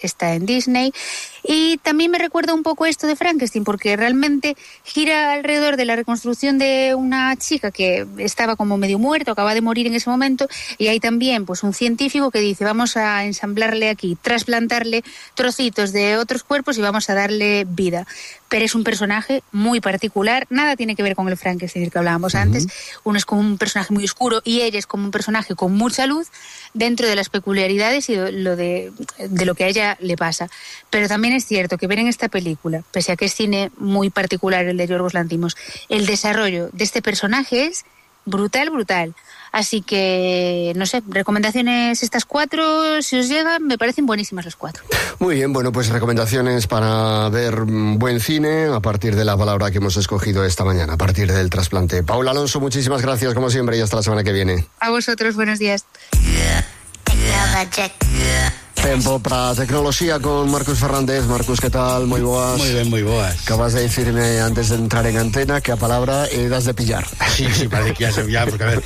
está en Disney. Y también me recuerda un poco esto de Frankenstein, porque realmente gira alrededor de la reconstrucción de una chica que estaba como medio muerta, acaba de morir en ese momento, y hay también pues un científico que dice, vamos a ensamblarle aquí, trasplantarle trocitos de otros cuerpos y vamos a darle vida. Pero es un personaje muy particular, nada tiene que ver con el Frankenstein del que hablábamos antes. Uno es como un personaje muy oscuro y ella es como un personaje con mucha luz dentro de las peculiaridades y de lo que a ella le pasa. Pero también es cierto que ver en esta película, pese a que es cine muy particular el de Yorgos Lanthimos, el desarrollo de este personaje es brutal. Así que, no sé, recomendaciones estas 4, si os llegan, me parecen buenísimas las 4. Muy bien, bueno, pues recomendaciones para ver buen cine a partir de la palabra que hemos escogido esta mañana, a partir del trasplante. Paula Alonso, muchísimas gracias como siempre y hasta la semana que viene. A vosotros, buenos días. Tempo para tecnoloxía con Marcos Fernández. Marcos, que tal? Moi boas. Moi ben, moi boas. Acabas de dicirme antes de entrar en antena que a palabra das de pillar. Sí, parece que ya se pillar, porque a ver,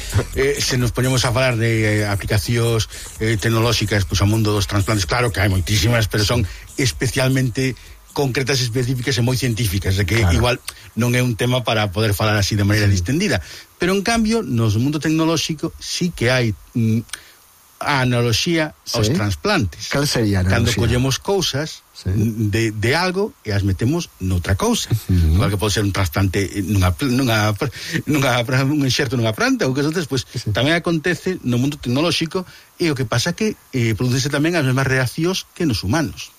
se nos ponemos a falar de aplicacións tecnolóxicas, pues ao mundo dos trasplantes, claro que hai moitísimas, pero son especialmente concretas, específicas e moi científicas, de que claro, igual non é un tema para poder falar así de maneira distendida, pero en cambio, no mundo tecnolóxico sí que hai a analoxía aos transplantes. Cal sería a analoxía? Cando collemos cousas de algo e as metemos noutra cousa. Igual que pode ser un trasplante un enxerto nunha planta ou que outras, pues tamén acontece no mundo tecnolóxico, e o que pasa que produce tamén as mesmas reaccións que nos humanos.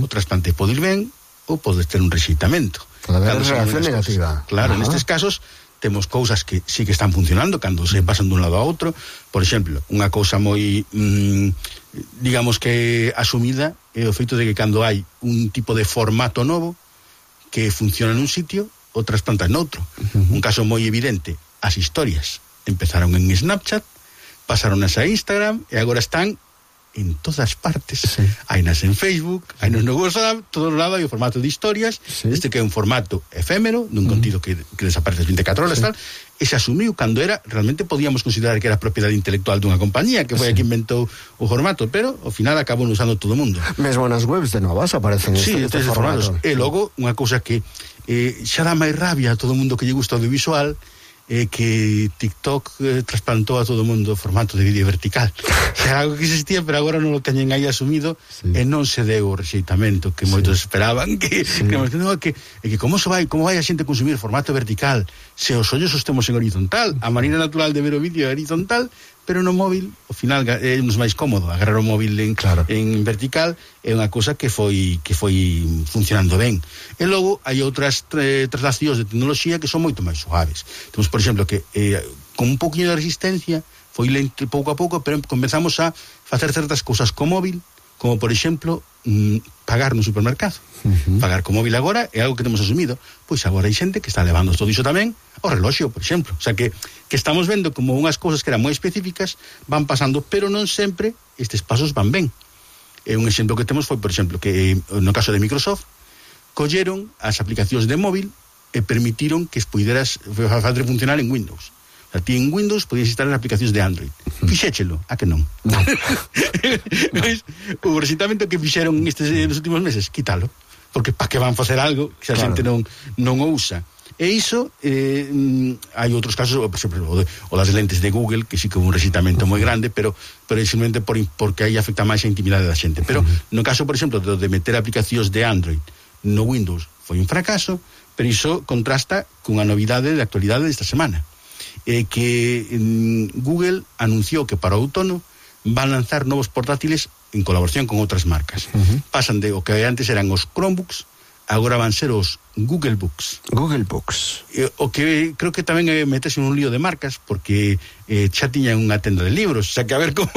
O trasplante pode ir ben ou pode ter un rexeitamento. Pode haber reacción negativa. Claro, nestes casos temos cousas que sí que están funcionando cando se pasan dun lado a outro. Por exemplo, unha cousa moi digamos que asumida é o feito de que cando hai un tipo de formato novo que funciona nun sitio, o trasplantas noutro. Un caso moi evidente, as historias empezaron en Snapchat, pasaron a Instagram e agora están en todas partes. Hai nas en Facebook, hai nos no WhatsApp, todo lado hai o formato de historias, este que é un formato efémero, dun contido que desaparece 24 horas, tal, e se asumiu cando era, realmente podíamos considerar que era propiedade intelectual dunha compañía, que foi a que inventou o formato, pero ao final acabou usando todo o mundo. Mesmo nas webs de novas aparecen este formato. E logo, unha cousa que xa dá máis rabia a todo o mundo que lle gusta o audiovisual, que TikTok trasplantou a todo o mundo o formato de vídeo vertical. Era algo que existía, pero agora non o teñen aí asumido, e non se deu o rexeitamento que moitos esperaban, que como vai a xente consumir formato vertical se os ollos os temos en horizontal. A maneira natural de ver o vídeo é horizontal, pero no móvil, ao final é nos máis cómodo agarrar o móvil en vertical. É unha cousa que foi funcionando ben. E logo hai outras traslacións de tecnoloxía que son moito máis suaves. Temos, por exemplo, que con un pouquinho de resistencia foi lento pouco a pouco, pero comenzamos a facer certas cousas co móvil, como por exemplo pagar no supermercado. Pagar co móvil agora é algo que temos asumido. Pois agora hai xente que está levando todo iso tamén ao reloxo, por exemplo. O sea que estamos vendo como unhas cousas que eran moi específicas van pasando, pero non sempre estes pasos van ben. Un exemplo que temos foi, por exemplo, que no caso de Microsoft colleron as aplicacións de móvil e permitiron que puideras facer funcionar en Windows. O sea, ti en Windows podías instalar aplicacións de Android. Fixéchelo, a que non? O rexeitamento que fixeron nos últimos meses, quítalo. Porque para que van facer algo que a xente non o usa. E iso, hai outros casos, por exemplo, o das lentes de Google, que sí que houve un rexeitamento moi grande, pero simplemente porque aí afecta máis a intimidade da xente. Pero no caso, por exemplo, de meter aplicacións de Android no Windows, foi un fracaso, pero iso contrasta cunha novidade de actualidade desta semana. Que Google anunciou que para o outono van lanzar novos portátiles en colaboración con outras marcas. Pasan de o que antes eran os Chromebooks, agora van ser os Google Books. Google Books. O que creo que tamén é meterse en un lío de marcas, porque xa tiñan unha tenda de libros, o sea que a ver como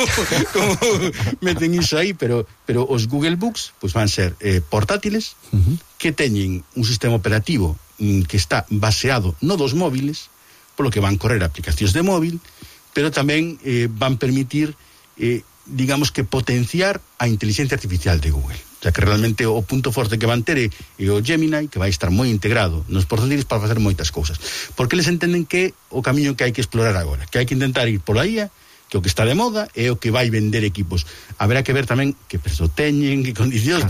meten iso aí, pero os Google Books pues van ser portátiles que teñen un sistema operativo que está baseado no dos móviles, polo que van correr aplicacións de móvil, pero tamén van permitir digamos que potenciar a inteligencia artificial de Google. O sea que realmente o punto forte que van ter é o Gemini, que vai estar moi integrado nos portátiles para facer moitas cousas. Porque eles entenden que o camiño que hai que explorar agora, que hai que intentar ir pola IA que o que está de moda é o que vai vender equipos. Haberá que ver tamén que prezo teñen, que condicións,